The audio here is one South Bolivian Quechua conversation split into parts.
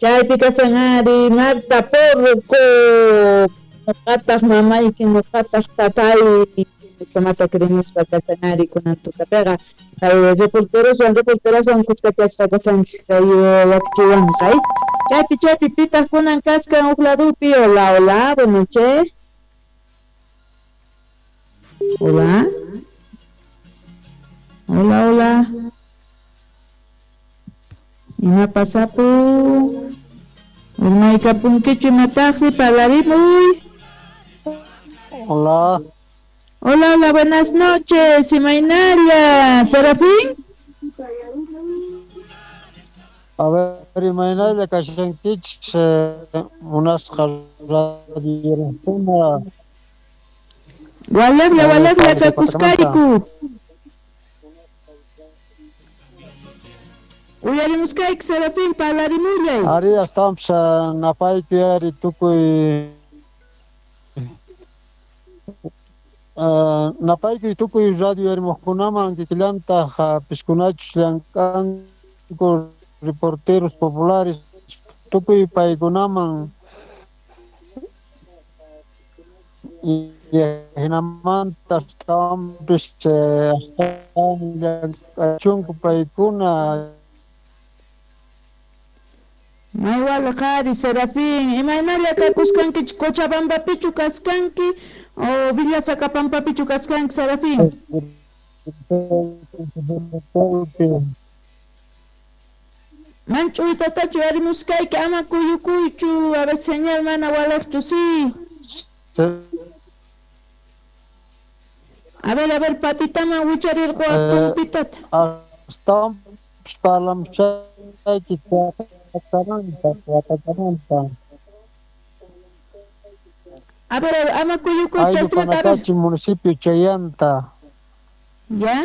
Chaypi kashan ari Marta Porco, noqataq mamayki, noqataq tatay, kamata krimuspa kashan ari kunan tutapiqa. Kay reporteroswan reporteraswan kuskachasqa kashanchis kay wakichiwanqa. Chaypi chaypi pitaq kunan kaskan huk ladupi. Hola, hola, buenas noches. Hola. Hola, hola. Ima pasapun? Urmaykapunkichu imataqri parlarimuy. Hola. Hola, hola, buenas noches. Imaynalla, Serafín. A ver, imaynalla kashankichis munasqa radiorukuna. Walaqlla, walaqlla kakuskayku. Uyarimuskayki, Serafín, parlarimullay. Ari, astawanpis napaypi ari tukuy napaykuy tukuy radio yarimuqkunaman kikillantaq piskunachus llank'anku reporteros populares tukuy paykunaman hinamanta astawanpis astawan llank'achunku paykuna. May walaq ari, Serafín, imaynalla kakuskankichu Cochabambapichu kaskanki o Villa Sacapampapichu kaskanki, Serafín? Manch'uytatachu yarimuskayki, ama kuyukuychu, a ver señal mana walaqchu, sí. A ver, patitaman wicharirquwaq tumpitata. Astawanpis parlamushayki watakamanta. A ver, ama kuyukuychu, Ayllu Panacachi, municipio Chayanta. ¿Ya?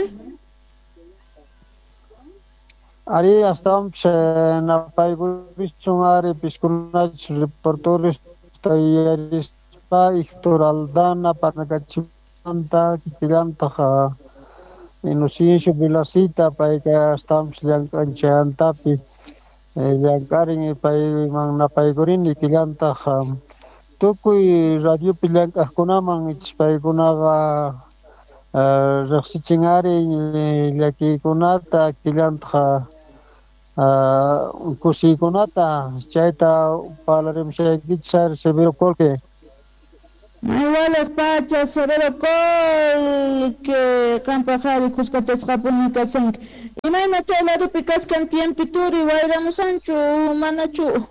Ari, astawanpis napaykulichun ari piskunachus reporteros yarispa Héctor Aldana Panacachimanta kikillantaq Inocencio Vilacita payka astawanpis llank'an Chayantapi llank'arin payman napaykurini kikillantaq tukuy radiopi llank'aqkunaman ichis paykunaqa riqsichin ari llakiykunata killantaq kusiykunata chayta parlarimushaykichis ari Severo Colque. May walaq pacha, Severo Colque, qampaq ari kuskachasqapuni kashanki. Imayna chay ladupi kaskan tiempituri wayramusanchu manachu?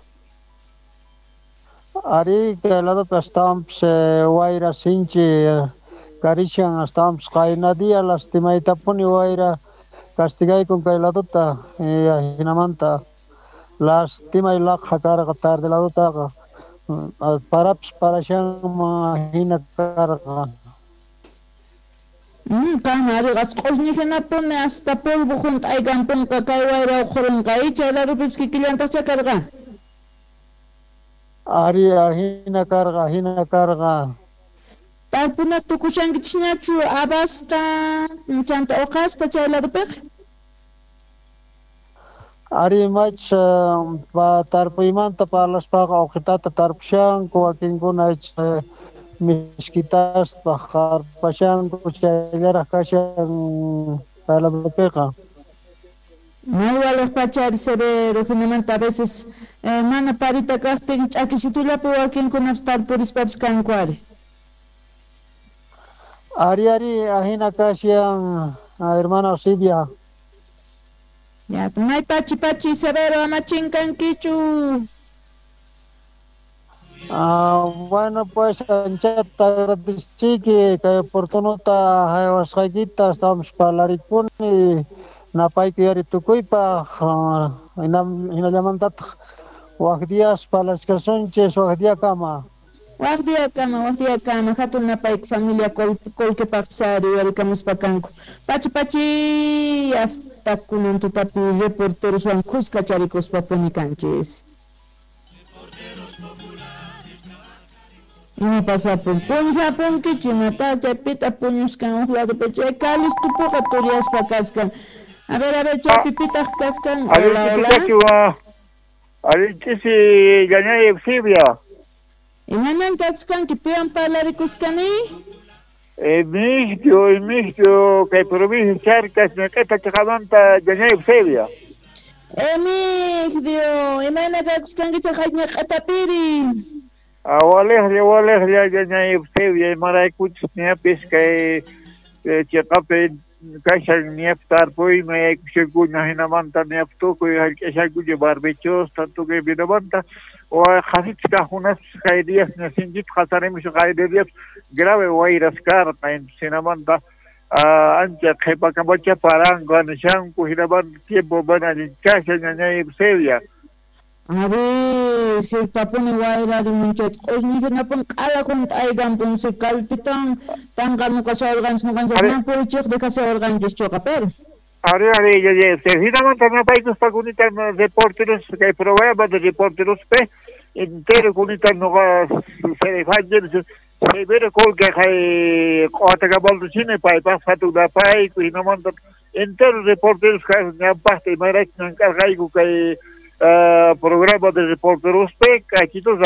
Ari, kay ladupi astawanpis wayra sinchi karishan, astawanpis qayna día lastimaytapuni wayra castigaykun kay laduta, hinamanta lastimay laqha karqa tarde ladutaqa parapis parashanman hina karqa. Qam ari q'usñi hinapuni hasta polvo hunt'aykanpunqa kay wayra uqhurinqa, chay ladupipis kikillantaqcha karqa. Ari, hina karqa, hina karqa. Tarpuna tukushankichisñachu abasta chanta uqasta chay ladupiqa? Ari, mach tarpuymanta parlaspaqa uqitata tarpushanku, wakinkuna miskitasta qarpashanku chayllaraq kashan kay ladupiqa. May walaq pachari, Severo, hinamanta a veces mana parita kaqtin ch'akisitullapi wakinkunapas tarpurispapis kanku ari. Ari, ari, ahina kashan, hermana Silvia. Ya, may pachi pachi, Severo, ama chinkankichu. Bueno, pues, anchata agradeciki kay oportunota haywasqaykita, astawanpis parlarikuni napayku yari tukuypaq, hinallamantataq wak días parlachkasunchis, wak diakama. Wak diakama, wak diakama, hatun napayku familia Colquepaqpis ari warikamuspa kanku. Pachi pachi, hasta kunan tutapi reporteroswan kuska charikuspa puni kanchis. Ima pasapun? Puñujapunkichu imata chaypita puñuskan huk ladupi chay kalistupuqa turiyaspa kaskan. A ver, chaypi pitaq kaskan. Hola, hola. Alinchisi ñañay Eusebia. Imanan kakuskanki piwan parlarikuskani? Emigdio, kay provincia Charcas, ñaq'ita chaqamanta ñañay Eusebia. Emigdio, imayna kakuskankichaq ñaq'atapiri? Walejlla ñañay Eusebia, imaraykuchus ñapis kay chaqapi kashan ñap tarpuyman yaykushankuna hinamanta ñap tukuy hallch'ashankuña barbechosta tukuy vinamanta qhasichis kaqkunaspis kay días ña sinchita qasarimushan qaylla días grave wayras karqa hinamanta ancha qhipakamacha paranqa nishanku hinamanta tiempo mana allin kashan ñañay Eusebia. Ari, sirtapuni wayrarimun chayta q'usñi hinapuni q'ala hunt'aykanpun si kallpitawan tanqamuqashawarqanchis ñuqanchis mana purichiqta kashawarqanchischuqa pero. Ari, ñañay Eusebia, hinamanta napaykuspa kunita reporteros kay programa de reporterospi entero kunita nuqa Severo Colque kay q'uwatakamaltuchini paypaq hatun napayku hinamanta entero reporteros ñawpaqta imarayku llank'arqayku kay programa de reporterospi k'achitus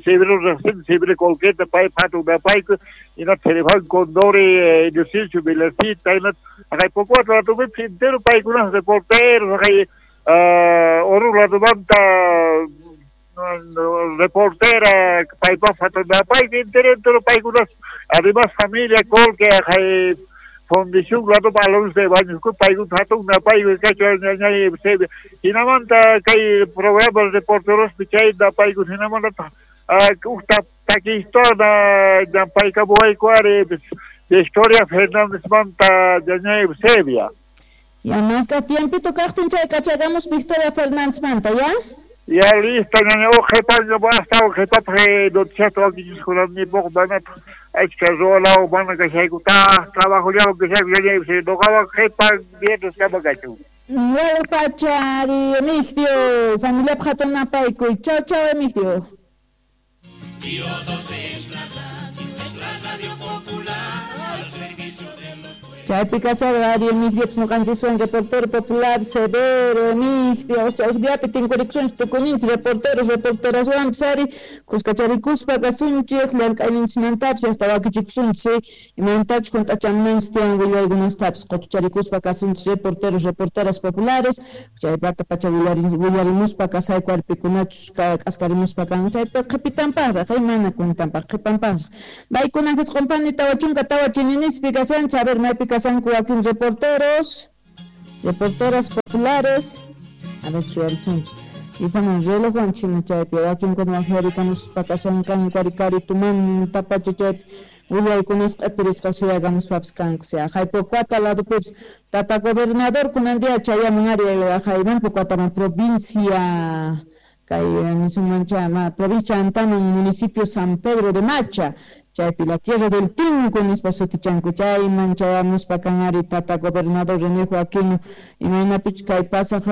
Severo riqsini Severo Colqueta paypaq hatun napayku hinata Serefán Condori Inocencio Vilasita hinata haqay Pocoata ladupipis entero paykunas reporteros haqay Oruro ladumanta reportera paypaq hatun napayku entero entero paykunas además familia Colque haqay Fundición ladupa Alonso de Baños paykuna hatun napayku kachu ñañay Eusebia hinamanta kay programa reporterospi chay napayku hinamanta huk takistona ñampaykamuwayku ari Victoria Fernándezmanta ñañay Eusebia. Ya masqa tiempito kaqtin chay kachagamos Victoria Fernándezmanta, ya? Ya listo, ñaña, qhipaña astawan qhipapaq noticiasta wakichishkunanipaq manataq achka ruwalawan mana kashayku trabajollawan kashayku ñañay Eusebia nuqawan qhipan viernes kama kachun. Waypacha ari Emigdio, familiapaq hatun napaykuy. Chau chau Emigdio. Chaypi kasarqa ari Emigdio ñuqanchiswan reportero popular Severo Emigdio huk diapi tinkurikusunchik tukuninchik reporteros reporteraswanpis ari kuskacharikuspa kasunchik llank'ayninchikmantapis hasta wakichikusunchik imaynatachus hunt'achamunanchik tiyan willaykunastapis qutucharikuspa kasunchik reporteros reporteras populares chaypata pacha willarimuspa kasayku arpikunachus k'askarimuspa kanku chaypi qhipitanpaqraq mana kuntanpaq qhipanpaqraq paykunan qisqunpani 44 chininispi kasanchik a ver maypi kasanku wakin reporteros, reporteras populares, a ver suyarisunchik. Y bueno, relojwan china chaypi wakinkuna waqyarikamuspa kashankanku karitumanta pacha chaypi willaykunas q'ipirisqa suyakamuspapis kanku haqay Pocoata ladupipis tata gobernador kunan día chayamun ari haqayman Pocoataman provincia kay nisunmancha provincia Antaman municipio San Pedro de Macha chaypi la tierra del Tinku nispa sutichanku chayman chayamuspa kan ari tata gobernador René Joaquino imaynapich kay pasaq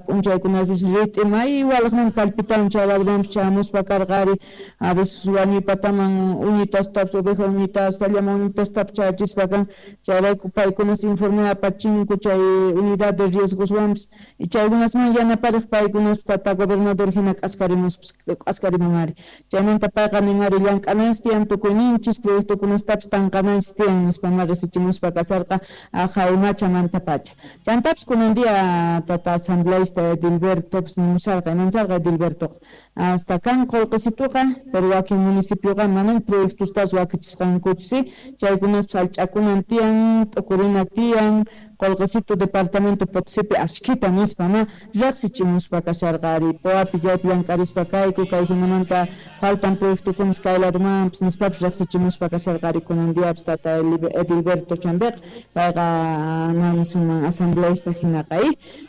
p'unchaykunapis rit'i may walaqman kallpitawan chay ladumanpis chayamuspa karqa ari a veces wañuypataman uñitastapis oveja uñitasta llama uñitastapis chayachispa kan chayrayku paykunas informe apachinku chay unidad de riesgoswanpis y chaykunasman yanapariq paykunas tata gobernador hina k'askarimun ari chaymanta payqa nin ari llank'ananchis tiyan tukuynin proyectokunastapis tanqananchis tiyan nispa ma risichimuspa kasarqa haqay Machamanta pacha chantapis kunan día tata asambleísta Edilbertopis nimusharqa imansarqa Edilbertoqa hasta kan qullqisituqa pero wakin municipioqa manan proyectostas wakichisqankuchu si chaykunaspis hallch'akunan tiyan t'ukurina tiyan qullqisitu departamento Potosipi ashkhita nispa ma riqsichimuspa kasharqa ari Poapi chaypi llank'arispa kayku kay hinamanta faltan proyectokunas kay ladumanpis nispapis riqsichimuspa kasharqa ari kunan diapis tata Edilberto Chambiqa payqa nisunman asambleísta hinaqa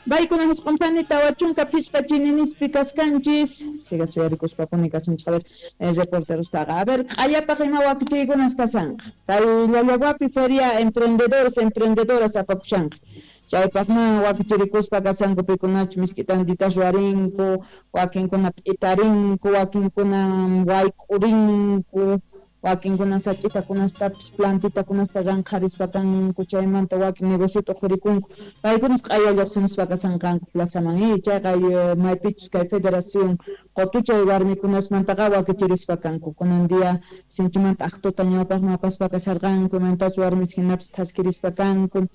paykunan hisq'unpani 45 chininispi kaskanchis siga suyarikuspapuni kasunchik a ver reporterostaqa a ver q'allapaq ima wakichiykunas kasanqa kay Llallaguapi feria emprendedores emprendedoras apakushanqa chaypaqman wakichirikuspa kasanku pikunachus misk'i tantitas ruwarinku wakinkuna p'itarinku wakinkuna wayk'urinku Wakinkuna sach'itakunastapis plantitakunasta ranqharispa kanku, chaymanta wakin negociota uqhurikunku, paykunas q'aya lluqsimuspa kasanqanku plazaman. Chayqa maypichus kay federación qotuchay warmikunasmantaqa wakichirispa kanku. Kunan día sinchimanta aqtuta ñawpaqman apaspa kasharqanku, imaynatachus warmis hinapis thaskirispa kanku,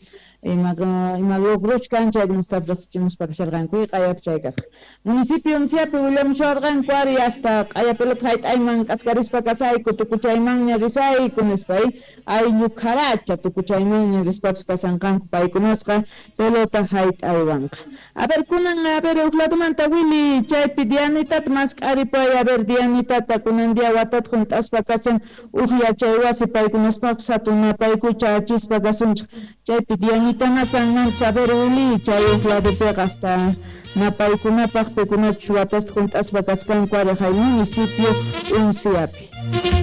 ima logros kan chaykunastapis riqsichimuspa kasharqanku. Q'ayapi chay kasqa. Municipio Unciapi willamusharqanku ari hasta q'aya pelota hayt'ayman k'askarispa kasayku, tukuchaymanña risayku nispa, ayllu kharacha tukuchaymanña rispapis kasanqanku paykunasqa pelota hayt'aywanqa. A ver, kunan, a ver, huk ladomanta Willy, chaypi Dianitata mask'aripay, a ver, Dianitata kunan día watata hunt'aspa kasan uj yachay wasi paykunaspaqpis hatun napaykucha achispa kasunchik. Chaypi Dianitama kanmanpis, a ver, Willy, chay huk ladopiqa hasta napaykunapaq pikunachus watasta hunt'aspa kaskanku ari hay municipio Unciapi.